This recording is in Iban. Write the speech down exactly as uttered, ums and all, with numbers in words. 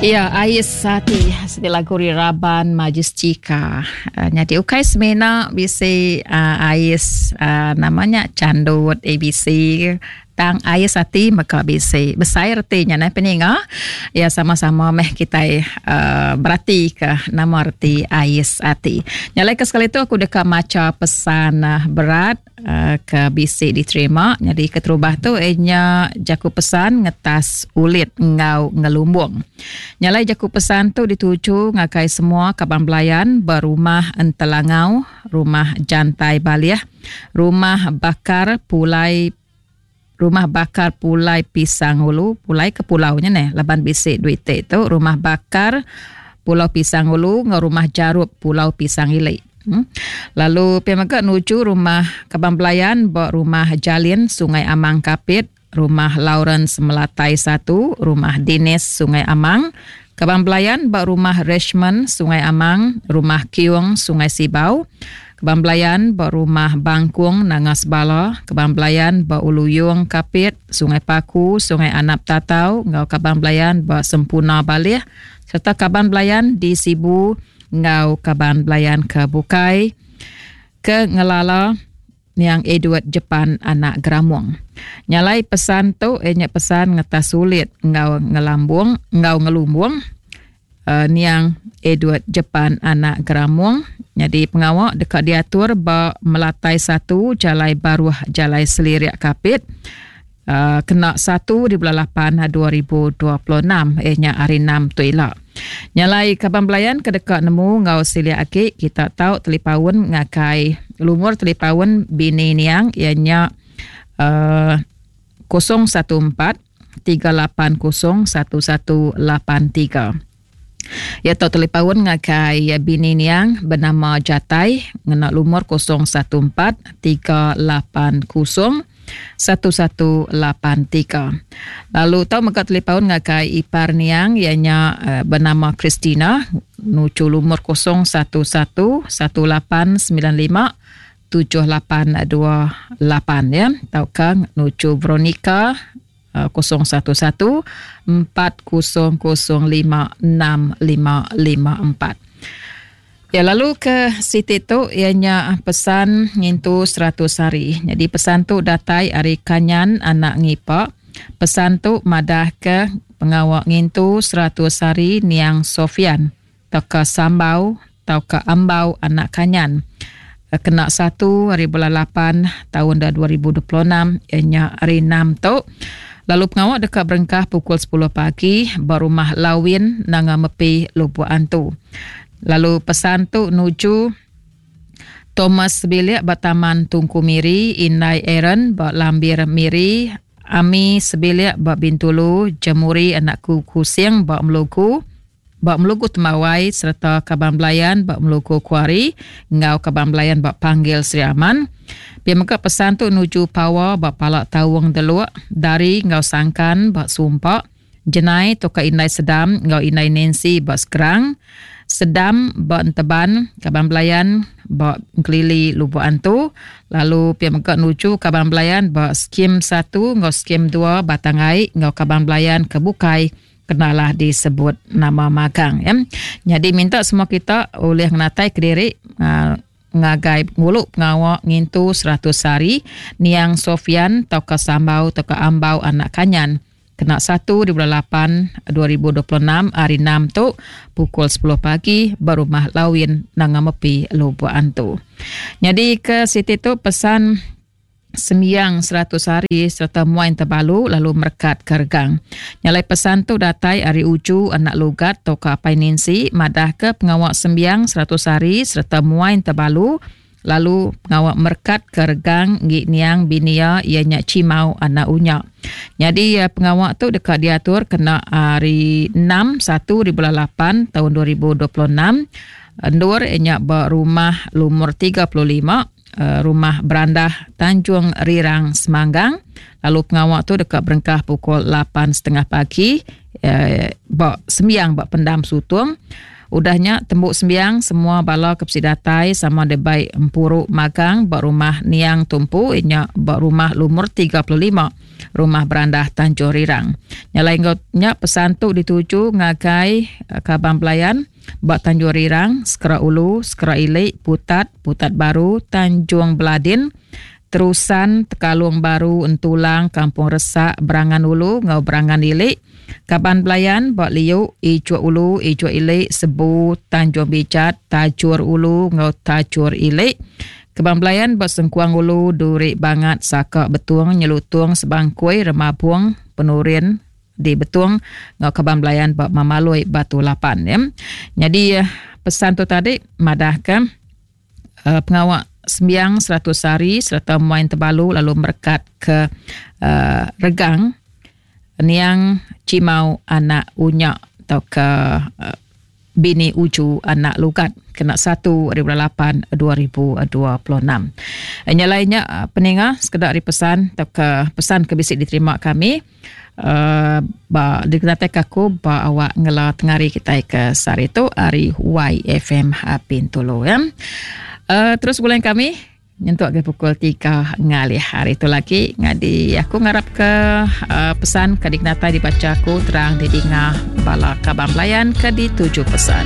Ya, ais ati siti lagu ri raban Majestica. Uh, nyadi ukai semina bisi uh, ais uh, namanya candut A B C tang ais ati maka bisi. Besai reti nya nah peninga. Ya sama-sama meh kitai uh, berati ke nama reti ais ati. Nyalai ke sekali tu aku deka maca pesan uh, berat uh, ke bisi diterima. Jadi keterubah tu ianya jaku pesan ngetas ulit ngau ngelumbung. Nyalai jaku pesan tu dituju ngagai semua kaban belayan berumah Entelangau, rumah Jantai Balih, rumah Bakar Pulai Rumah Bakar Pulai Pisang Ulu, pulai ke pulaunya neh, laban bisi duit tu, Rumah Bakar Pulau Pisang Ulu ngau Rumah Jarup Pulau Pisang Ili. Hmm. Lalu pia mega nuju rumah kaban belayan ba Rumah Jalin Sungai Amang Kapit, Rumah Lawrence Melatai satu, Rumah Dinis Sungai Amang, kaban belayan ba Rumah Richmond Sungai Amang, Rumah Kiung Sungai Sibau, kaban belayan ba Rumah Bangkung Nanga Sebala, kaban belayan ba Uluyung Kapit, Sungai Paku, Sungai Anap Tatau, ngau kaban belayan ba Sempuna Balih, serta kaban belayan di Sibu ngau kaban belayan ke Bukai ke ngelala yang Edward Jepan anak Geramung. Nyalai pesan tu ianya pesan ngetas sulit ngau ngelambung ngau ngelumbung uh, niang Edward Jepan anak Geramung. Jadi pengawak dekat diatur ba Melatai satu Jalai Baruh Jalai Selirik Kapit. Uh, kena satu di bulan lapan dua ribu dua puluh enam ianya hari enam tu ila. Nyalai kaban belayan ke dekat nemu ngau silia aki kita tahu telipaun ngakai lumur telipaun bini niang ianya uh, kosong satu empat tiga lapan kosong satu satu lapan tiga. Ya tau telipaun ngakai bini niang bernama Jatai ngena lumur kosong satu empat tiga lapan kosong satu satu lapan tiga. Lalu tau mega telipaun ngakai ipar niang ianya uh, bernama Christina nuju lumur kosong satu satu satu lapan sembilan lima tujuh lapan dua lapan ya. Tauka nuju Veronica kosong satu satu empat kosong kosong lima enam lima lima empat. Ya lalu ke siti tu ianya pesan ngintu seratus hari. Jadi pesan tu datai ari Kanyan anak Ngipa. Pesan tu madah ke pengawak ngintu seratus hari niang Sofian tauka Sambau tauka Ambau anak Kanyan. Kena satu hari bulan lapan tahun dua ribu dua puluh enam ianya hari enam tu. Lalu pengawak dekat berengkah pukul sepuluh pagi berumah Lawin Nanga Mepi Lubuk Antu. Lalu pesan tu nuju Thomas Sebilik ba Taman Tungku Miri, Indai Aaron ba Lambir Miri, Ami Sebilik ba Bintulu, Jemuri anakku Kusing ba Melugu, ba Melugu Temawai serta kaban belayan ba Melugu Kuari ngau kaban belayan ba Panggil Sri Aman. Pia mega pesan tu nuju Pawa ba Palak Tawung Deluk, Dari ngau Sangkan ba Sumpak, Jenai toka Indai Sedam ngau Indai Nancy ba Sekerang, Sedam ba Enteban, kaban belayan ba Kelili Lubuk Antu, lalu pia mega nuju kaban belayan ba Skim satu ngau Skim dua Batang Ai ngau kaban belayan ke Bukai kenalah disebut nama magang ya. Jadi minta semua kita oleh ngenatai kediri uh, ngagai nguluk pengawak ngintu seratus hari niang Sofian tauka Sambau tauka Ambau anak Kanyan. Kena satu di bulan lapan dua ribu dua puluh enam hari enam tu pukul sepuluh pagi berumah Lawin Nanga Mepi Lubuk Antu. Jadi ke siti tu pesan sembiang seratus hari serta muain terbalu lalu merekat kergang. Nyalai pesan tu datai ari uju anak lugat toka apai Nancy madah ke pengawak sembiang seratus hari serta muain terbalu lalu pengawak merekat kergang ngi niang binia ianya Cimau anak Unya. Jadi pengawak tu dekat diatur kena hari enam satu di bulan lapan tahun dua ribu dua puluh enam. Endur ianya berumah lumur tiga puluh lima Rumah Berandah Tanjung Rirang Semanggang. Lalu pengawak tu dekat berengkah pukul lapan setengah pagi eh, bak sembiang bak pendam sutung. Udahnya tembuk sembiang semua bala kepsi datai sama de baik empuruk magang bak rumah Niang Tumpu inya bak rumah lumur tiga puluh lima Rumah Berandah Tanjung Rirang. Nya alai enggau nya pesan tu dituju ngagai uh, kaban belayan ba Tanjung Rirang, Sekera Ulu, Sekera Ili, Putat, Putat Baru, Tanjung Beladin, Terusan, Tekalung Baru, Entulang, Kampung Resak, Berangan Ulu enggau Berangan Ili, kaban belayan ba Liu, Ijuk Ulu, Ijuk Ili, Sebu, Tanjung Bijat, Tajur Ulu enggau Tajur Ili, kaban belayan ba Sengkuang Ulu, Duri Bangat, Saka Betung, Nyelutung, Sebangkui, Remabung, Penurin di Betung enggau kaban belayan ba Mamaloi Batu Lapan ya. Jadi pesan tu tadi madahka uh, pengawa sembiang seratus hari sereta muai tebalu lalu merekat ke uh, regang niang Cimau anak Unyak atau ke uh, bini Uju anak Lugat kena satu ribu lapan dua ribu dua puluh enam. Nya lainnya peninga sekedar dari pesan atau ke pesan ke bisi diterima kami uh, ba dikenatai aku ba awak ngela tengari kita ke sehari tu hari Y F M Bintulu ya. Uh, terus bulan kami nyentuk ke pukul tiga ngalih hari itu lagi ngadi aku ngarap ke uh, pesan ke dikenatai dibaca aku terang didinga bala kaban belayan ke dituju pesan.